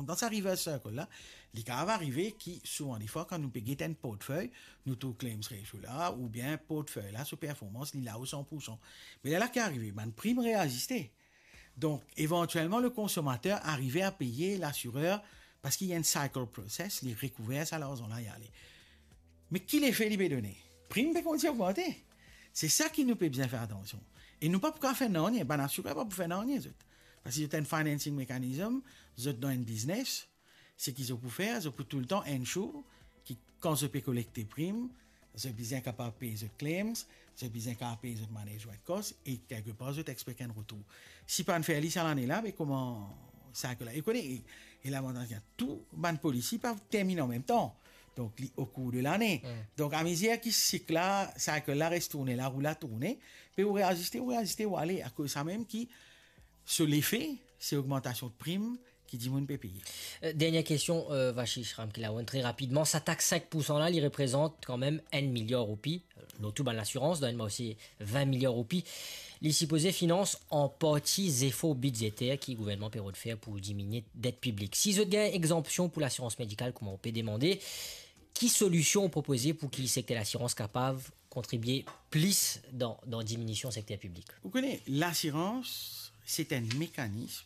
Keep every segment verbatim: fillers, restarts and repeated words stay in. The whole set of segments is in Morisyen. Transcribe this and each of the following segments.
Dan sa reverse circle la, li kapav arive ki souvan defwa kan nou pe get enn portfey, nou trouv claims ratio la, oubien portfey la, so performans, li la o san poursan. Me lerla ki arive, bann prim reaziste. Donk, evantielman, le konsomater arive a peye lasirer, parski ena enn cycle process, li rekouver sa larzan la, li ale. Me ki lefe li pe done? Prim pe kontign ogmante. Se sa ki nou pe bizin fer atansion. E nou pa pou kapav fer nanye, bann asirer pa pou fer nanye zot. Parski zot ena enn financing mechanism, zot dan enn biznes, seki zot pou fer, zot pou toultan ensure ki kan zot pe kolekte prim, zot bizin kapav pey zot claims, zot bizin kapav pey zot management cost, e kelkepar zot expect enn retour. Si pa fer li sa lane la, me kouma cycle la? E kone, e, e lavantaz, tou bann polisi pa terminn anmemtan. Donk, li okour de lane. Hmm. Donk, amezir ki sik la, cycle la res tourne, larou la tourne, pe ou reaziste, ou reaziste, ou ale. Akoz samem ki, so lefe, se ogmantasion prim ki dimoun pe peye. Euh, dernière question, euh, Vashish Ramkalawan, très rapidement. Sa tax cinq pour cent la, li reprezant kanmem enn miliar roupi, euh, lor tou bann lasirans, dan enn mwa osi vin miliar roupi. Li sipoze finans an parti zefor bidzeter ki gouvernman pe rod fer pou diminie det piblik. Si zot gagn egzanpsion pou lasirans medikal, kouma ou pe demande, ki solision ou propoze pou ki sekter lasirans kapav kontribie plis dan, dan diminision sekter piblik? Ou kone, lasirans, se enn mekanism.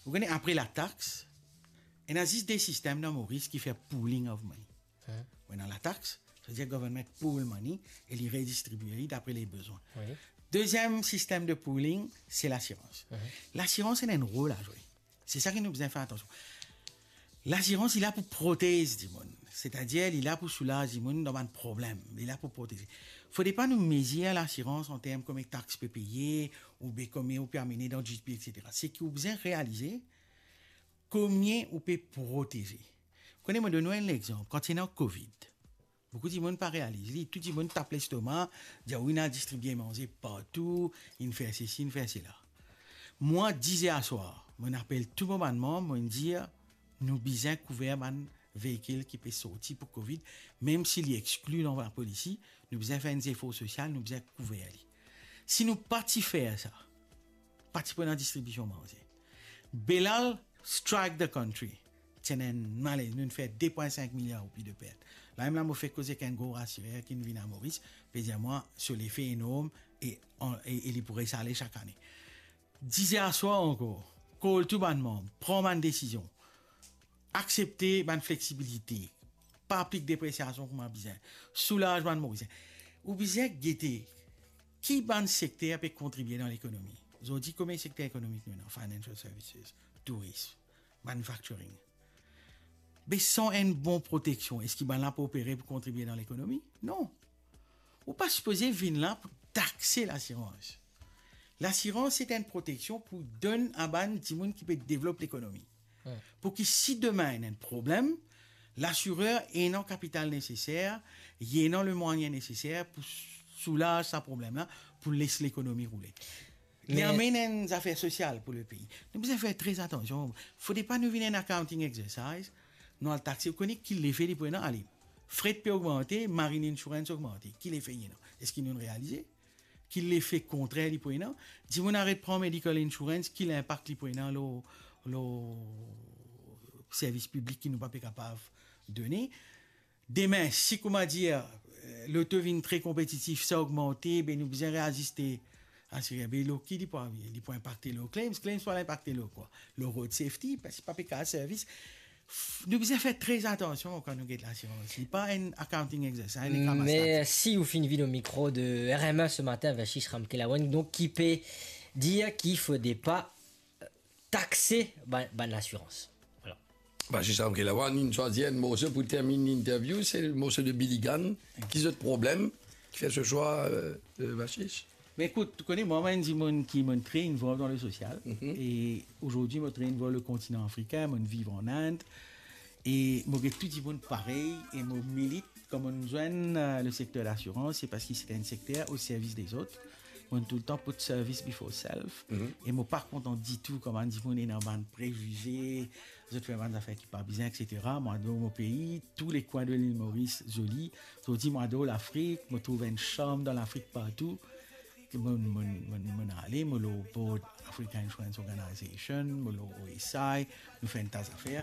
Ou kone, apre latax, ena zis de sistem dan Moris ki fer pooling of money. Hmm. Ou ena latax, savedir government pool money e li redistribie li dapre le bezwin. Wi. Deziem sistem de pooling, se lasirans. Hmm. Lasirans ena enn rol a zwe. Se sa ki nou bizin fer atansion. Lasirans, li la pou protez dimoun. Setadir, li la pou soulaz dimoun dan bann problem. Li la pou proteze. Fode pa nou mezir lasirans an term komie tax pe peye, oubien komie ou pe amene dan GDP, et cetera. Seki ou bizin realize, komie ou pe proteze. Kone, mo donn ou enn lexanp. Kan ti ena covid, boukou dimoun pa realiz li, tou dimoun tap lestoma, dir, "Wi, inn al distribie manze partou, inn fer sesi, inn fer sela." Mwa, diz er aswar, mo'nn apel tou mo bann manm, mo'nn dir, "Nou bizin kouver bann veikil ki pe sorti pou covid, mem si li exkli dan lapolisi, nou bizin fer enn zefor sosial, nou bizin kouver li." Si nou pa ti fer sa, pa ti pou ena distribision manze. Belal strike the country. Ti ena enn malez, nou fer de pwin sink miliar roupi de pert. Lamem la, mo fek koze ek enn gro asirer ki vinn a Moris, pe dir mwa, so lefe enorm e, e, e li pou res ale sak ane. Diz er aswar ankor, kol tou bann manm, pran bann desizion, aksepte bann fleksibilite, pa aplik depresiasion kouma bizin, soulaz bann Morisien. Ou bizin gete ki bann sekter pe kontribie dan lekonomi. Zordi, komie sekter ekonomik nou ena? Financial services, tourism, manufacturing. Be san enn bon proteksion, eski bannla pou opere pou kontribie dan lekonomi? Non. Ou pa sipoze vinn la pou takse lasirans. Lasirans, se enn proteksion pou donn a bann dimoun ki pe devlop lekonomi. Hmm. Pou ki si demin ena enn problem, lasirer ena kapital neseser, li ena lemwayin neseser pou soulaz sa problem la, pou les lekonomi roule. Li amenn enn zafer sosial pou lepei. Nou bizin fer tre atansion. Fode pa nou vinn enn accounting exercise, nou al takse, ou kone ki lefe li pou ena? Ale, fret pe ogmante, marine insurance ogmante. Ki lefe li ena? Eski nou realize ki lefe kontrer li pou ena? Dimoun aret pran medical insurance, ki linpak li pou ena lor, lor servis piblik ki nou pa pe kapav done? Demin, si, kouma dir, eh, loto vinn tre konpetitif, sa ogmante, be nou bizin reaziste asirer. Be lor ki li pou, li pou inpakte? Lor claims, claims pou al inpakte lor kwa? Lor road safety, parski pa pe kapav servis. F-, nou bizin fer tre atansion kan nou get lasirans. Li pa enn accounting exercise, enn ramas tax. Mersi, ou finn vinn o mikro de R M A ce matin, Vashish Ramkalawan, donk ki pe dir ki fode pa takse bann, bann lasirans. Voilà. Vashish Ramkalawan, nou swazir enn morso pou terminn linterview, se le morso de Billy Gunn, Ki zot problem, ki fer so swa, euh, euh, Vashish? Me ekout, ou kone, mwa, mo enn dimoun ki, mo tre involve dan le sosial, mhm, e azordi mo tre involve le kontinan afrikin, mo viv an Inde, e mo get tou dimoun parey, e mo milit, kan mo zwenn, euh, le sekter lasirans, se parski se enn sekter o servis dezot. Mo toultan put service before self. Mhm. E mo pa kontan ditou kouma dimoun ena bann prezize, zot fer bann zafer ki pa bizin, et cetera. Mo ador mo pei, tou lekwin de lil Moris zoli. Zordi mo ador Lafrik, mo trouv enn sharm dan Lafrik partou. Mo, mo, mo, mo ale, mo lor board Africa Insurance Organization, mo lor O S I, nou fer enn ta zafer.